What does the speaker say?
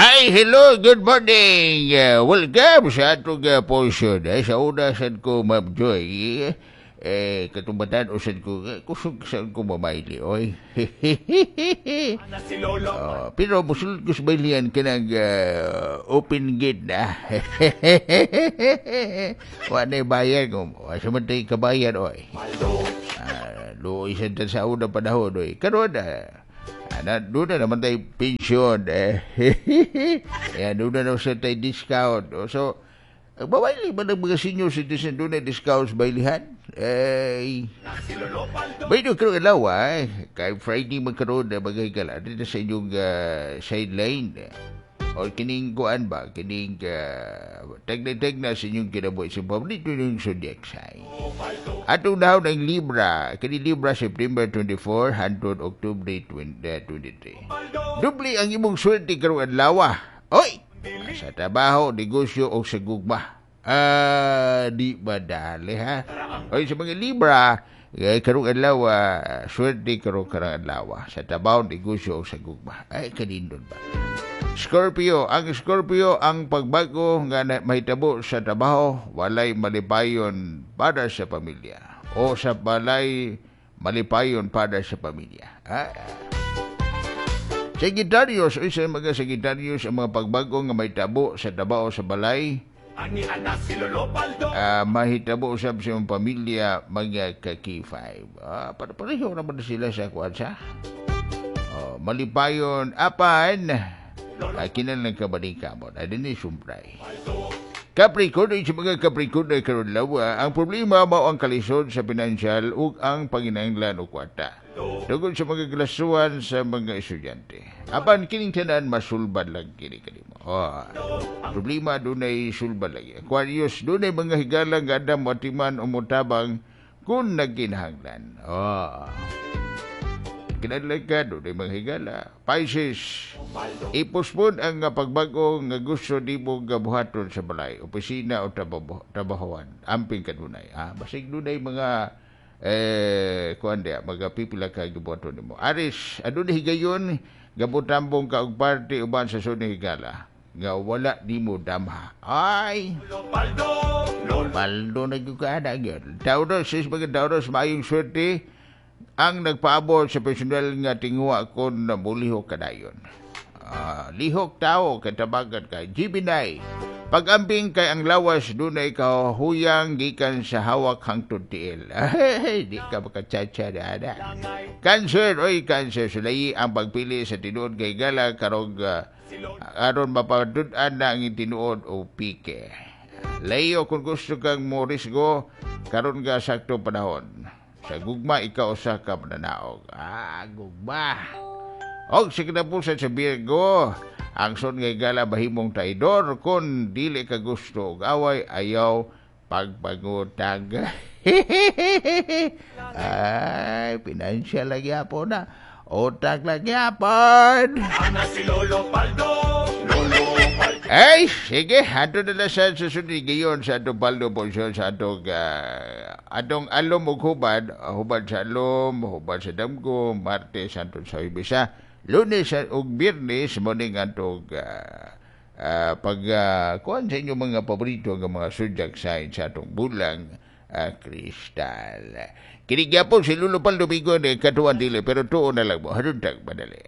Hi, hello, good morning. Welcome sa atong portion. Eh, sa una sad ko, Ma'am Joy, eh, katumbatan usad ko, eh, kusog sad ko mamayli, oy. Oh, pero musulod ko sa baylian kanang open gate na. Wa na bayad ko. Sa man tayo kabayad, oy. Luoy sad ta sa una panahon, oy. Karon, na, doon na naman tayo pensyon, eh. Kaya doon na naman sa tayo discount. Oh, so, babayli ba ng mga senior citizen doon na discount sa baylihan? Eh, Baydo karon adlaw eh. Kay Friday magkaroon na bagay ka dito sa inyong sideline. O kining kuan ba, kining tagna-tagna sa inyong kinabuhi sa paborito yung zodiac sign. Atong dahon ang Libra, kini Libra September 24 hangtod October 20, 23. Dubli ang imong swerte karong adlaw. Oy! Sa trabaho, negosyo o sa gugma. Ah, di ba dali ha? Oy, sa mga Libra, eh, karong adlaw, swerte karong karong adlaw. Sa trabaho, negosyo o sa gugma. Ay, kanindot ba? Scorpio, ang Scorpio ang pagbago nga mahitabo sa trabaho walay malipayon para sa pamilya o sa balay malipayon para sa pamilya. Ah. Sagittarius, oy, sa mga Sagittarius ang mga pagbago nga mahitabo sa trabaho sa balay mahitabo usab sa imong pamilya mga ka-K5. Ah, pareho naman sila sa kuan sa. Oh, malipayon apan kinahanglan ka balik mo. Ay, din sumpray. Capricorn, sa mga Capricorn ay karon lawa, ang problema mao ang kalisod sa pinansyal ug ang panginahanglan og kwarta. Tungod sa mga glasuan sa mga estudyante. Apan kining tanan masulbad lang kini kanimo. Oh, problema dunay sulbad lagi. Aquarius, dunay mga higala nga adam moatiman o motabang kung nagkinahanglan. Oh. Kinahanglan ka, dunay mga higala. Pisces, ipospon ang pagbago nga gusto nimo nga buhaton sa balay, opisina o trabahoan. Amping kadunay. Ah, basig dunay mga kuan diya, mga pipila ka gibuhaton nimo. Aries, adunay higayon gabutambong ka og party uban sa sunod higala nga wala nimo damha. Ay, Paldo na gyud ka ana gyud. Taurus, is mga Taurus maayong swerte ang nagpaabot sa personal nga tinguha kon mulihok kadayon. Lihok tao katabagan kay Gemini. Pag-amping kay ang lawas dunay kahuyang gikan sa hawak hangtod tiil. Ay, di ka makachatcha na ana. Cancer, oy Cancer, sulayi ang pagpili sa tinuod kay gala karog aron mapatud-an na ang tinuod o pike. Leo, kung gusto kang morisgo, karon ka sakto panahon. Sa gugma, ikaw usa ka mananaog. Ah, gugma. Og sa kinapusan sa Virgo, ang son nga higala bahimong traidor kung dili ka gusto og away, ayaw pagpangutang. Ay, financial lagi po na. Utang lagi hapon. Ana si Lolo Paldo, Lolo Paldo. Ay, sige, ato na lang sa susunod gayon sa atong Paldo portion sa atong atong alom ug hubad, hubad sa alom, hubad sa damgo, Martes hantod sa Huwebes, Lunes ug Biyernes morning atong pag kuan sa inyong mga paborito nga mga zodiac sign sa atong bulang kristal. Kini gyapon si Lolo Paldo Bigon, eh, katuan dili pero tuo na lang mo. Haruntag madali.